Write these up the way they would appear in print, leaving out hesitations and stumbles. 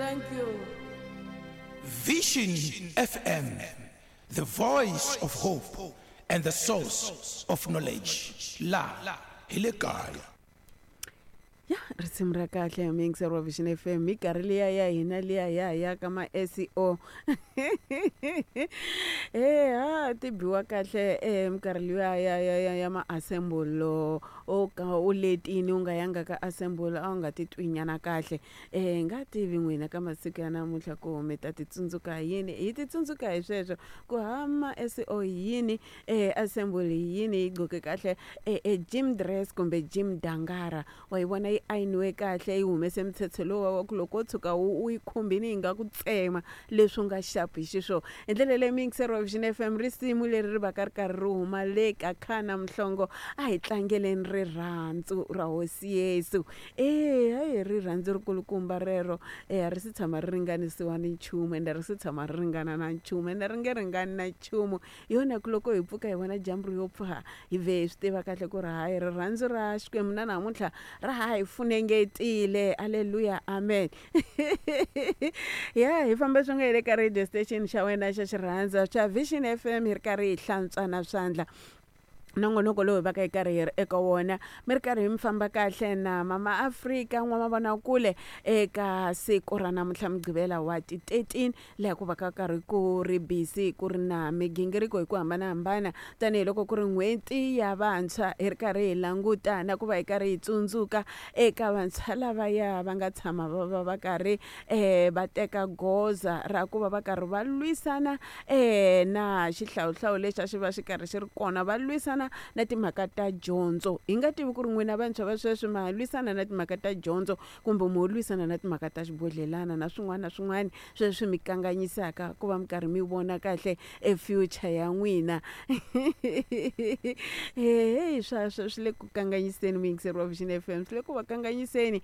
Thank you. Vision FM, the voice of hope and the source of knowledge. La hi le kaya. Ya, risimu ra kahle, muyingiseri wa Vision FM. Minkarhi liya ya hina liya ya ya ka ma SEO e ha ti biwa kahle e minkarhi liya ya ma-assemble, o ka u letini, u nga yanga ka assemble, a wu nga titwi nyana kahle. Nga tivi n'wina ka masiku ya namuntlha ku mi ta ti tsundzuka yini, hi ti tsundzuka hi sweswo ku hama SEO yini, assemble yini, yi gqoke kahle e gym dress kumbe gym dangara, wa yi vona yi ayiniwe kahle, yi humese mitshetshe lowa wa ku loko wo tshuka u yi khumbini yi nga ku tsema leswi u nga xapu hi xiswona. Hi ndlela leyi, muyingiseri wa Vision FM, risimu leri ri va ka ri karhi ri huma le ka Khana Mhlongo, a hi tlangeleni rirhandzu ra Hosi Yesu. E hayi, rirhandzu ri kulukumba rero, e a ri si tshama ri ringanisiwa ni nchumu, ende ri si tshama ri ringana na nchumu, ende ri nge ringani na nchumu. Hi yona ku loko hi pfuka hi vona dyambu ri yo pfa, hi vhe hi swi tiva kahle ku ri hayi, rirhandzu ra Xikwembu na namuntlha ra ha hi funengetile. Aleluya, amen. Ya, hi famba swin'we hi le ka radio station xa wena xa xirhandza xa Vision FM, hi ri karhi hi hlantswana swandla. Nongonoko lowu hi va ka hi karhi hi ri eka wona, mi ri karhi mi famba kahle na Mama Afrika N'wamavonakule eka siku ra namuntlha, Mugqivela wa ti 13, laha ku va ka karhi ku ri busy, ku ri na migingiriko hi ku hambanahambana, tanihiloko ku ri n'hweti ya vantshwa. Hi ri karhi hi languta na ku va hi karhi hi tsundzuka eka vantshwa lavaya va nga tshama va va va karhi va teka goza ra ku va va karhi va lwisana na xihlawuhlawu lexi a xi va xi karhi xi ri kona, va lwisana na timhaka ta dyondzo. Hi nga tivi ku ri n'wina vantshwa va sweswi ma lwisana na timhaka ta dyondzo kumbe mo lwisana na timhaka ta xibodhlelana na swin'wana na swin'wana sweswi mi kanganyisaka ku va mi karhi mi vona kahle e future ya n'wina. Heyi, swa swi le ku kanganyiseni, muyingiseri wa Vision FM, swi le ku va kanganyiseni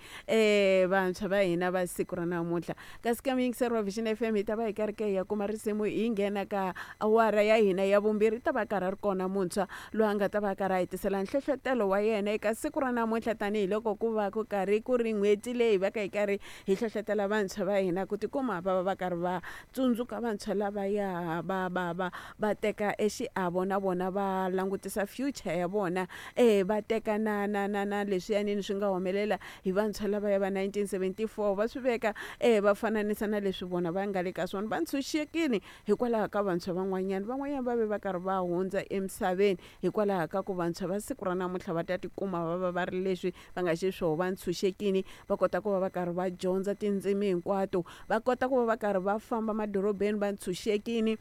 vantshwa va hina va siku ra namuntlha. Kasi ka muyingiseri wa Vision FM, hi ta va hi karhi ke hi ya kuma risimu, hi nghena ka awara ya hina ya vumbirhi. Ta va karhi a ri kona muntshwa loyi a nga ta va karhi a hi tisela nhlohlotelo wa yena eka siku ra namuntlha, tanihiloko ku va ku karhi ku ri n'hweti leyi va ka hi karhi hi hlohlotela vantshwa va hina ku tikuma va va va karhi va tsundzuka vantshwa lavaya va teka exiavo na vona, va langutisa future ya vona, va teka na leswiyanini swi nga humelela hi vantshwa lavaya va 1974, va swi veka, va fananisa na leswi vona va nga le ka swona. Va ntshunxekile hikwalaho ka vantshwa van'wanyana, van'wanyana va ve va karhi va hundza emisaveni hikwalaho ka ku vantshwa va siku ra namuntlha va ta tikuma va va va ri leswi va nga xiswona, va ntshunxekile, va kota ku va va karhi va dyondza tindzimi hinkwato, va kota ku va va karhi va famba madorobeni va ntshunxekile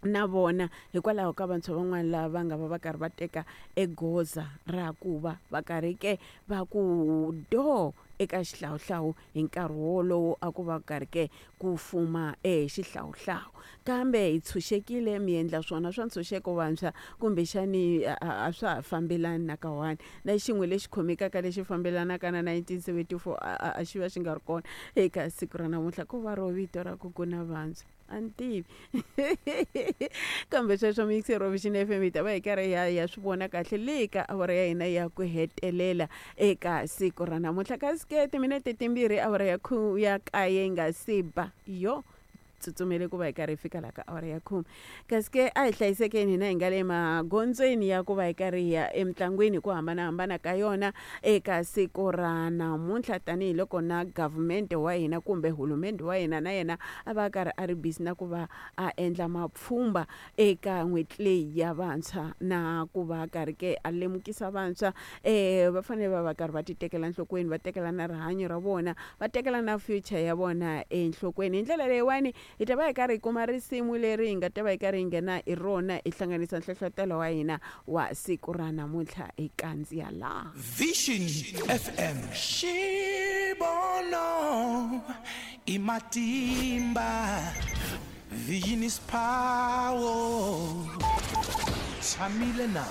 na vona, hikwalaho ka vantshwa van'wana lava va nga va va karhi va teka egoza ra ku va va karhi ke va ku doo eka xihlawuhlawu hi nkarhi wolowo a ku va karhi ke ku fuma e xihlawuhlawu. Kambe hi tshunxekile, mi endla swona swa ntshunxeko vantshwa, kumbexani a swa ha fambelani na ka one na xin'we lexi khomekaka lexi fambelanaka na 1974, a xi va xi nga ri kona eka siku ra namuntlha, ko va ro vito ra ku ku na vantshwa, a ni tivi. Kambe sweswo, muyingiseri wa Vision FM, hi ta va hi karhi hi ya swi vona kahle le ka awara ya hina ya ku hetelela eka siku ra namuntlha. Kasi ke timinete 2 awara ya 9 yi nga si ba, yo tsutsumele ku va hi karhi hi fika laha ka awara ya 10. Kasi ke a hi hlayisekeni hina hi nga le magondzweni ya ku va hi karhi hi ya emitlangwini hi ku hambanahambana ka yona eka siku ra namuntlha, tanihiloko na government wa hina kumbe hulumende wa hina na yena a va a karhi a ri busy na ku va a endla mapfhumba eka n'hweti leyi ya vantshwa, na ku va karhi ke a lemukisa vantshwa va fanele va va karhi va ti tekela enhlokweni, va tekela na rihanyo ra vona, va tekela na future ya vona enhlokweni. Hi ndlela leyiwani, hi ta va hi karhi hi kuma risimu leri hi nga ta va hi karhi hi nghena hi rona, hi hlanganisa nhlohlotelo wa hina wa siku ra namuntlha, hi kandziya laha. Vision FM, xivono i matimba. Vision is power. Tshamile na.